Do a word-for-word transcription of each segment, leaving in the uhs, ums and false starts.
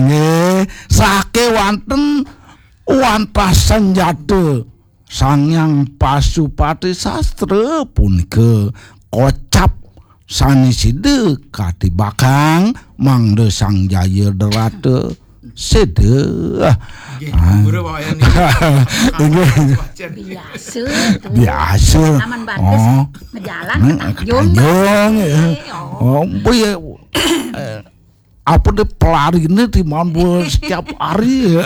Nggih, sakewanten wantah sanjata Sang Hyang Pasupati Sastra punika kocap sane sida katibakang mangda Sang Jaya Drata sida. Nggih, Ah. Guru, Pak Wayan niki. Nggih. Wacen. Biasa to. Biasa. Taman batas Oh. Ngejalan Hmm, ke Tanjung. Tanjung, ya. Eh, oh. Oh, boy, eh, apa dia pelarine di Mambo setiap hari ya.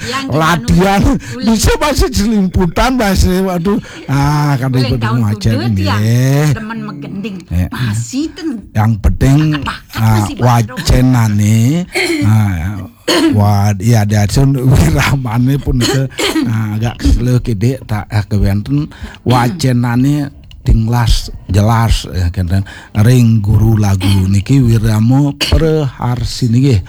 Yang di latihan Manado. Bisa bahasa Celimputan, bahasa, waduh. Ah, kan Ulang ikut tahun macet kuda nggih. Dia demen megending. Ya. Masih ten. Yang penting Apa-apa ah, masih baru. Wacenane ah, wad ya dasun wiramane pun ke ah, agak slow kidik tak ah, kewenten wacenane tinglas jelas ya kenten ring guru lagu niki wirama Preharsini nggih.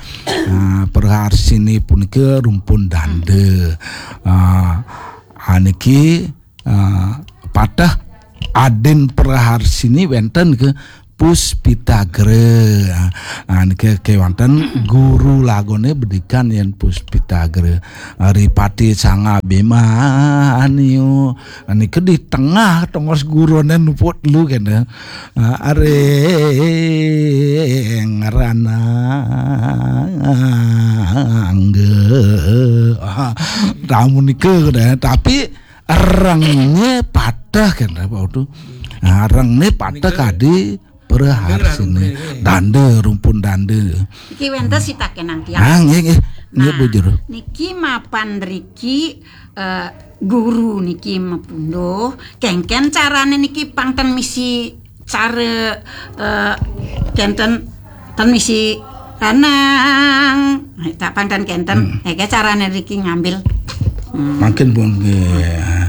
Ah, Preharsini punika rumpun danda. Ah, ah, niki ah, patah adin Preharsini wenten ke Puspitagra. Ah, niki kewanten guru lagune bedikan yen Puspitagra. Ripati Sang Abimanyu. Niki di tengah tongos gurune nuput lu kene. Ah, aring ranangga. Ah, tamu nika kene. Tapi renge patah kene Pak Utu. Ah, renge patah kadi Preharsini. Danda, rumpun danda. Iki wenten sitakenang tiang. Ah, nggih, nggih. Nggih, nah, Bu Juru. Niki mapan riki eh, guru niki mepunduh. Kengken carane niki pang ten misi cara eh, kenten ten misi ranang. Eh, tak pang ten kenten. Hmm. Eke carane riki ngambil. Hmm. Makin pun nggih.